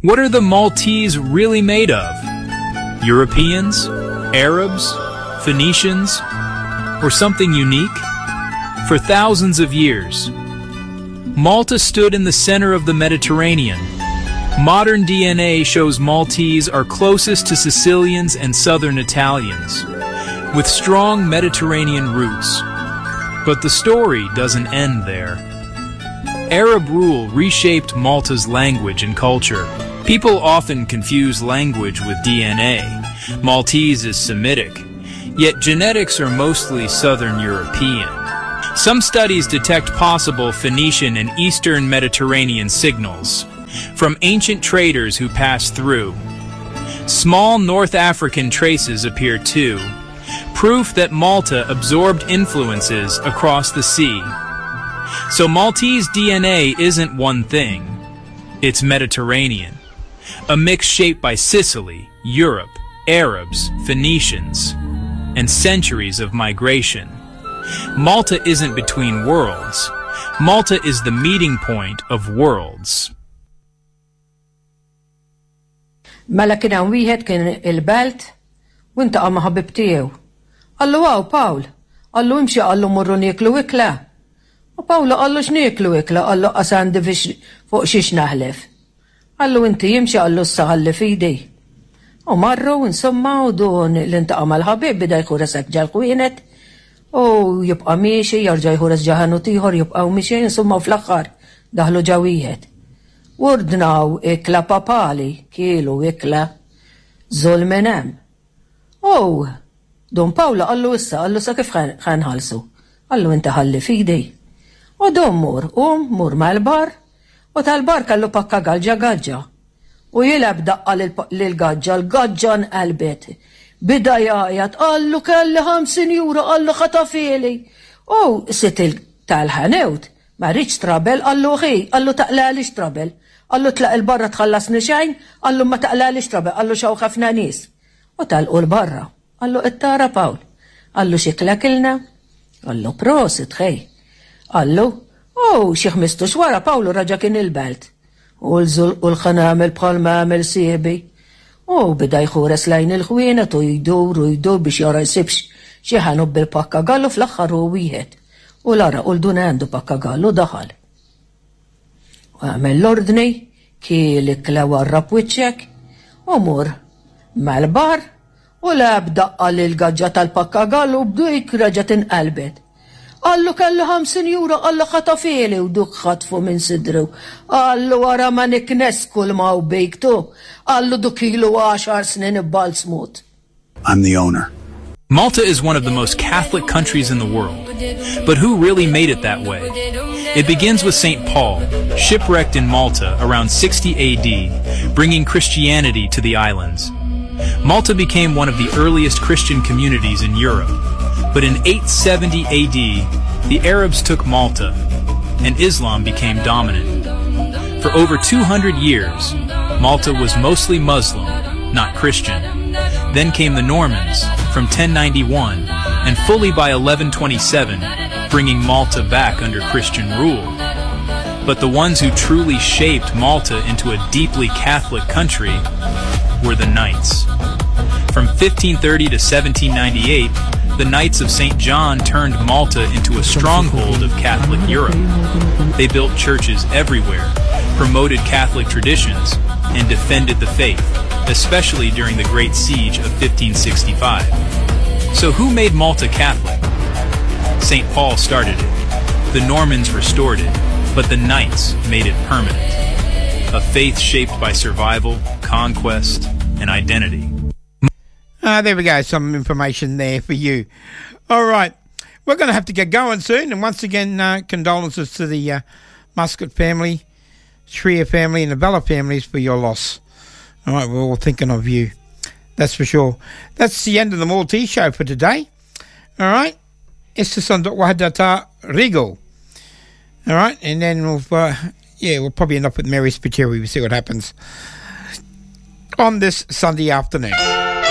What are the Maltese really made of? Europeans? Arabs? Phoenicians? Or something unique? For thousands of years, Malta stood in the center of the Mediterranean. Modern DNA shows Maltese are closest to Sicilians and southern Italians, with strong Mediterranean roots. But the story doesn't end there. Arab rule reshaped Malta's language and culture. People often confuse language with DNA. Maltese is Semitic, yet genetics are mostly Southern European. Some studies detect possible Phoenician and Eastern Mediterranean signals from ancient traders who passed through. Small North African traces appear too, proof that Malta absorbed influences across the sea. So Maltese DNA isn't one thing. It's Mediterranean, a mix shaped by Sicily, Europe, Arabs, Phoenicians, and centuries of migration. Malta isn't between worlds. Malta is the meeting point of worlds. Mela kien hawn wieħed kien il-belt u ntaqa' ma' ħabib tiegħu. Qallu hawn Pawl, qallu imxi qallu mmorru nieklu ikla. U Pawlu qallu x'nieklu ikla, qallu qas għandi fiex fuq xiex naħlef. Qallu inti imxi qallu issa ħalli f'idi. U marru insomma u dun li ntaqa' mal-ħabib beda jħures hekk ġal-ħwienet u jibqa' miexi jarġa' jħures ġa ħanut ieħor jibqgħu mixjin insomma u fl-aħħar daħlu ġa wieħed. U ordnaw ikla papali, kielu ikla żul minn hemm. U Dun Pawlu qallu issa, qallu sa kif ħa nħallsu? Qallu inti ħalli f'idi. U dun mur, qum, mur mal-bar, u tal-bar kellu pakka gaġġa gaġġa. U jilgħab daqqa lill-gaġġa, l-gaġġa nqalbet. Bida jgħajjat, qallu kelli 50 euro, qallu ħatafhieli. U sid tal-ħanut Ma rridx trouble, qallu ħi, qallu taqlagħlix trouble. Qallu tlaq 'il barra tħallasni xejn, qallu ma taqlagħlix trouble, qallu x'hawn ħafna nies. U telqu 'l barra. Qallu qed tara Pawl? Qallu x'ikla kilna? Qallu prosit ħej. Qallu, u xi ħmistux wara Pawlu raġa' kien il-belt. U l-żulq u l-ħa nagħmel bħalma għamel sieħbi. U beda jħures lejn il-ħwienet u jdur u jdur biex jara jsibx xi ħanut bil-pakkagallu fl-aħħar hu wieħed. U l-għaraq u l-dun għandu pakkagallu daħal. U għamel l-ordni, kiel ikla warrab wiċċek u mur mal-bar u lagħab daqqa lill-gaġġa tal-pakkagallu u b'dik reġgħet inqalbet. Qallu kelli 50 euro qallu ħatafhieli u duk ħatfu minn sidru. Qallu ara ma niknes kull ma hu bik tu. Qallu duk ilu għaxar snin ibbalzmut. I'm the owner. Malta is one of the most Catholic countries in the world. But who really made it that way? It begins with St. Paul, shipwrecked in Malta around 60 AD, bringing Christianity to the islands. Malta became one of the earliest Christian communities in Europe. But in 870 AD, the Arabs took Malta, and Islam became dominant. For over 200 years, Malta was mostly Muslim, not Christian. Then came the Normans from 1091 and fully by 1127, bringing Malta back under Christian rule. But the ones who truly shaped Malta into a deeply Catholic country were the Knights. From 1530 to 1798, the Knights of St. John turned Malta into a stronghold of Catholic Europe. They built churches everywhere, promoted Catholic traditions, and defended the faith, especially during the Great Siege of 1565. So who made Malta Catholic? St. Paul started it. The Normans restored it, but the Knights made it permanent. A faith shaped by survival, conquest, and identity. There we go, some information there for you. All right, we're going to have to get going soon. And once again, condolences to the Muscat family, Shrier family and the Bella families for your loss. All right, we're all thinking of you. That's for sure. That's the end of the Maltese show for today. All right. Issa Sanduk Wahadata Regal. All right, and then we'll, yeah, we'll probably end up with Mary Spiteri. We'll see what happens on this Sunday afternoon.